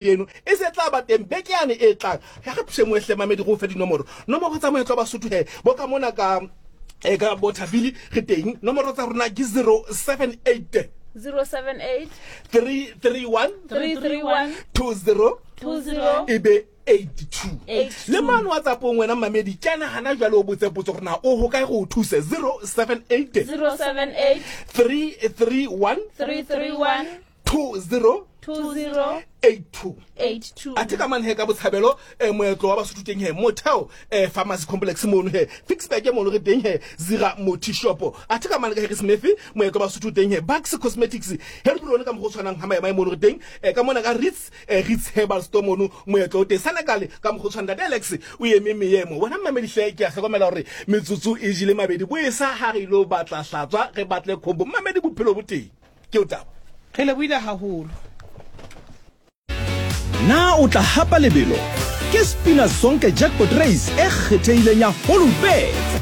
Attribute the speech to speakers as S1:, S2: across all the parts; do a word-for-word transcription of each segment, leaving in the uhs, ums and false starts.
S1: Eno e se tla ba teng beke yane e tlang. Ya re pshemo e hle mamedi go fe dinomoro. Nomoro tsa moetlo wa Basotho he bo ka mona ka e ka bo Thabile re teng. Nomoro tsa rona ke zero seven eight
S2: zero seven eight
S1: three three one
S2: three three one
S1: two zero
S2: two zero
S1: e be eight two.
S2: Eight
S1: Le
S2: two.
S1: mane WhatsApp-ong wena mamedi kena hana jwale o botse potso gore na o ho kae go o thuse. zero seven eight
S2: zero seven eight
S1: three three one
S2: three three one
S1: two zero
S2: two zero
S1: eight two.
S2: eight two.
S1: Athe ka mane he ka Botshabelo, eh, moetlo wa Basotho teng he Motheo, eh, Pharmacy Complex mono he Ficksburg mono re teng he Zira Moti Shop. Athe ka mane ka Harrismith moetlo wa Basotho teng he Bucks Cosmetics he re rone ka mo go tshwanang ha maema mono re teng, eh, ka mona ka Ritz, eh, Ritz Herbal Store mono moetlo o teng. Senekal ka mo go tshwanang Ntate Alex o eme meemo. Wena mmamedi hle ke a hlokomela hore metsotso e jele mabedi bo e sa ha re ilo batla hlatswa re batle khombo. Mmamedi bophelo bo teng. Ke o taba.
S3: Re lebohile haholo.
S4: Na o tla hapa lebelo? Ke Spina Sonke Jackpot Race e kgethehileng ya Hollywoodbets.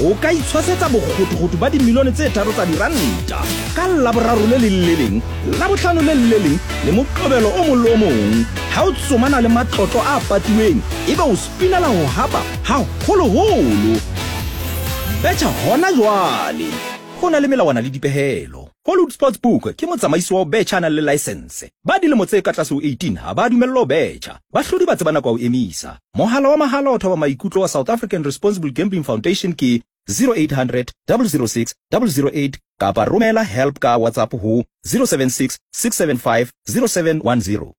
S4: O ka itshwasetsa bokgothokgotho ba dimilione tse tharo tsa diranta ka Laboraro le leng le leng, Labohlano le leng le leng le Moqebelo o mong le o mong. Ha o tsomana le matlotlo a patiweng, ebe o spinela ho hapa haholoholo. Betjha hona jwale. Ho na le melawana le dipehelo. Hollywood Sportsbook ke motsamaisi wa ho betjha a nang le license. Ba dilemo tse ka tlase ho eighteen ha ba dumellwa ho betjha. Bahlodi ba tseba nako ya ho emisa. Mohala wa mahala o thoba maikutlo wa South African Responsible Gambling Foundation ke zero eight hundred double zero six double zero eight kapa romela help ka WhatsApp ho zero seven six six seven five zero seven one zero.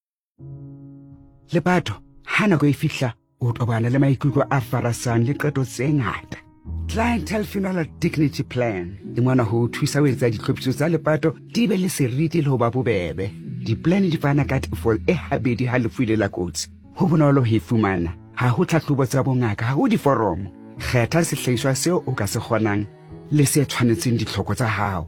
S5: Lepato, ha nako e fihla, o tobana le maikutlo a farasang le qeto tse ngata. Clientele Funeral Dignity Plan e mona ho thusa ho etsa ditlhophiso tsa lepato di be le seriti le ho ba bobebe. Di-plan di fana ka tefo e habedi ha lefu ile la kotsi. Ho bonolo ho e fumana. Ha ho tlhahlobo tsa bongaka, ha ho diforomo. Kgetha sehlahiswa seo o ka se kgonang le se tshwanetseng ditlhoko tsa hao.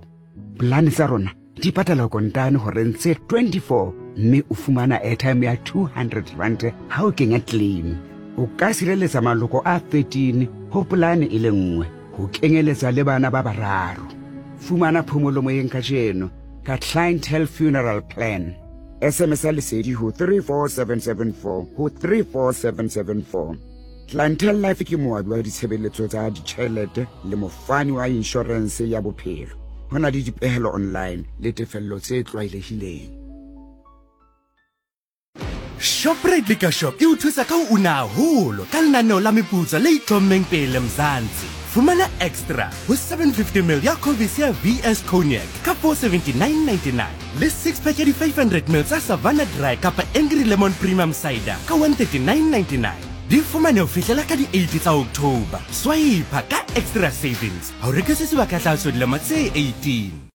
S5: Plan tsa rona di patala kontane horeng tse twenty-four mme o fumana airtime ya two hundred rand ha o kenya claim. O ka sireletsa maloko a thirteen ho polane e le nngwe, ho kenyeletsa le bana ba bararo. Fumana phomolo moyeng kajeno ka Clientele Funeral Plan. S M S ya lesedi ho three four seven seven four ho three four seven seven four. Clientele Life ke moabi wa ditshebeletso tsa ditjhelete le mofani wa inshorense ya bophelo. Ho na le dipehelo online le tefello tse tlwaelehileng.
S6: Shoprite Liquor Shop e o thusa ka ho una haholo ka lenaneo la meputso le itlhommeng pele Mzansi. Fumana extra ho seven fifty mil ya Covis ya V S Cognac ka four seventy-nine ninety-nine le six pack ya di five hundred mil tsa Savannah Dry kapa Angry Lemon Premium Cider ka one thirty-nine ninety-nine. Di fumane ho fihlela ka di eight tsa October. Swipe ka extra savings. Ha o rekise sebaka tlaso dilemo tse eighteen.